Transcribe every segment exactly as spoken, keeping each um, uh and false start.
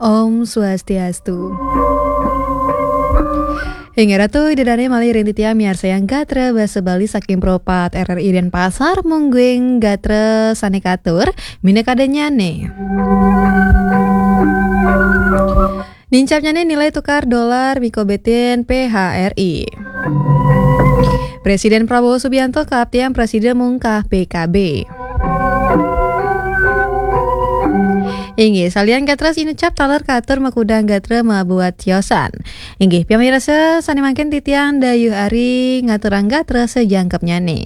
Om Swastiastu. Inggih Ratu, Ida Dane malih ring titiang miarsayang gatra basa Bali saking Pro pat R R I Denpasar, mungguing gatra sane katur, minakadanyane. Nincapnyane nilai tukar dolar mikobetin P H R I. Presiden Prabowo Subianto kaaptiang prasida mungkah P K B. Inggih, salian gatra inucap taler katur makudang gatra mabuat tiosan. Inggih, pamirsa sane mangkin titiang dayuh ari ngaturang gatra sajangkepnyane.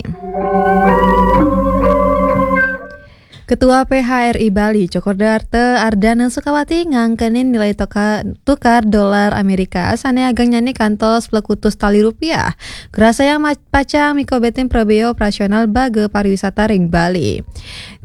Ketua P H R I Bali, Cokorda Arta Ardana Sukawati ngangkenin nilai toka-, tukar dolar Amerika sane agengnyane kantos plekutus tali rupiah. Grasayang ma-, pacang mikobetin prabea operasional baga pariwisata ring Bali.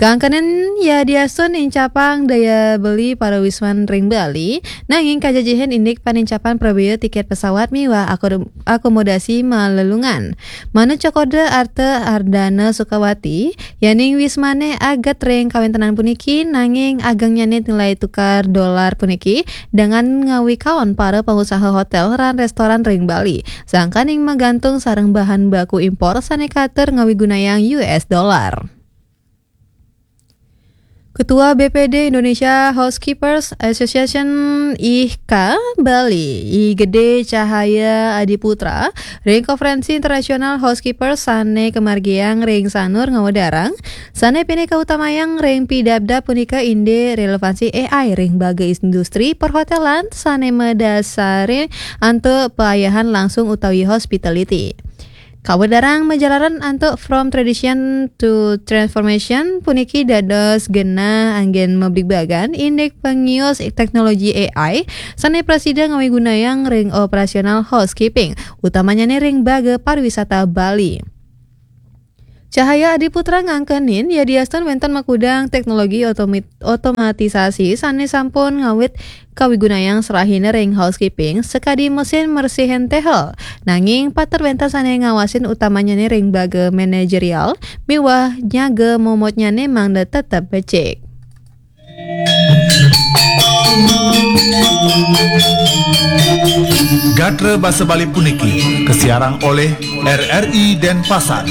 Kangkenin yadiastun nincapang daya beli pariwisman ring Bali, nanging kajajihin indik panincapan prabea tiket pesawat miwah akodom-, akomodasi malelungan. Manut Cokorda Arta Ardana Sukawati, yaning wismane aget ring kawentenan puniki, nanging agengnyane nilai tukar dolar puniki dengan ngawikaon para pangusaha hotel lan restoran ring Bali, sangkaning magantung sareng bahan baku impor sane katur ngawigunayang U S dollar. Ketua B P D Indonesia Housekeepers Association I H K Bali, I Gede Cahaya Adiputra, ring Konferensi Internasional Housekeepers sane kamargiang ring Sanur ngawedarang, sane pinih kautamayang ring pidabdab punika indik relevansi A I ring baga industri perhotelan sane madasari antuk paayahan langsung utawi hospitality. Kawedarang majalaran antuk From Tradition to Transformation puniki dados genah anggen mabligbagan indik pangius teknologi A I sane prasida ngawigunayang ring operasional housekeeping, utamanyane ring baga pariwisata Bali. Cahaya Adiputra ngangkenin, yadiastun wenten makudang teknologi otomi-, otomatisasi sane sampun ngawit kawigunayang serahina ring housekeeping sakadi mesin mersihin tehel. Nanging patut wenten sane ngawasin utamanyane ring baga manajerial miwah nyaga momotnyane mangda tetep becik. Gatra basa Bali puniki kasiarang oleh R R I Denpasar.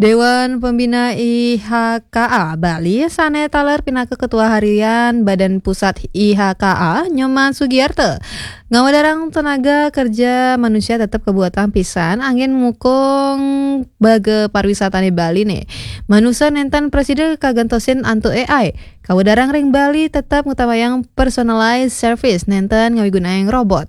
Dewan Pembina I H K A Bali sane taler pinaka Ketua Harian Badan Pusat I H K A, Nyoman Sugiarto, ngawedarang tenaga kerja manusia tetep kabuatang pisan anggen ngukung baga pariwisatane Bali ne. Manusa nenten prasida kagentosin antuk A I. Kawedarang ring Bali tetep ngutamayang personalized service nenten ngawigunayang robot.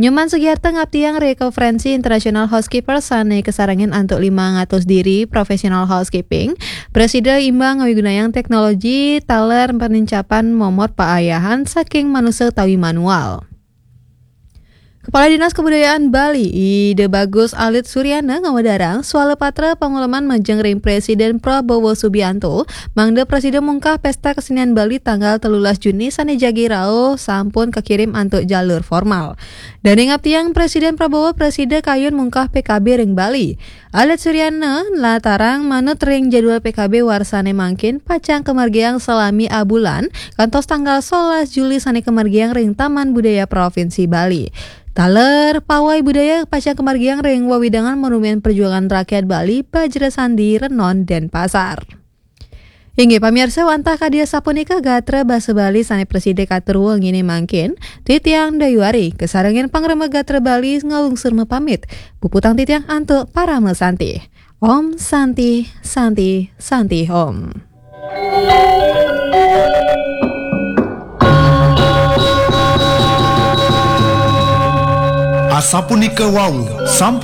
Nyoman Sugiarto ngaptiang ring Konferensi Internasional Housekeeper sane kasarengin antuk limang atus diri profesional housekeeping, prasida imbang ngawigunayang teknologi taler panincapan momot paayahan saking manusa utawi manual. Kepala Dinas Kebudayaan Bali, Ida Bagus Alit Suryana ngawedarang swalapatra panguleman majeng ring Presiden Prabowo Subianto, mangda prasida mungkah Pesta Kesenian Bali tanggal telulas Juni sane jagi rauh sampun kakirim antuk jalur formal. Dane ngaptiang Presiden Prabowo prasida kayun mungkah P K B ring Bali. Alit Suryana nlatarang manut ring jadwal P K B warsane mangkin pacang kamargiang salami abulan kantos tanggal solas Juli sane kamargiang ring Taman Budaya Provinsi Bali. Taler pawai budaya pacang kamargiang ring wewidangan Monumen Perjuangan Rakyat Bali, Bajra Sandi, Renon, Denpasar. Inggih pamirsa, wantah kadi asapunika gatra basa Bali sane prasida katur wengine mangkin, titiang Dayuari kasarengin pangrembag gatra Bali ngalungsur mapamit. Puputang titiang antuk parama santi. Om Santi, Santi, Santi Om. Asapunika wau, sampun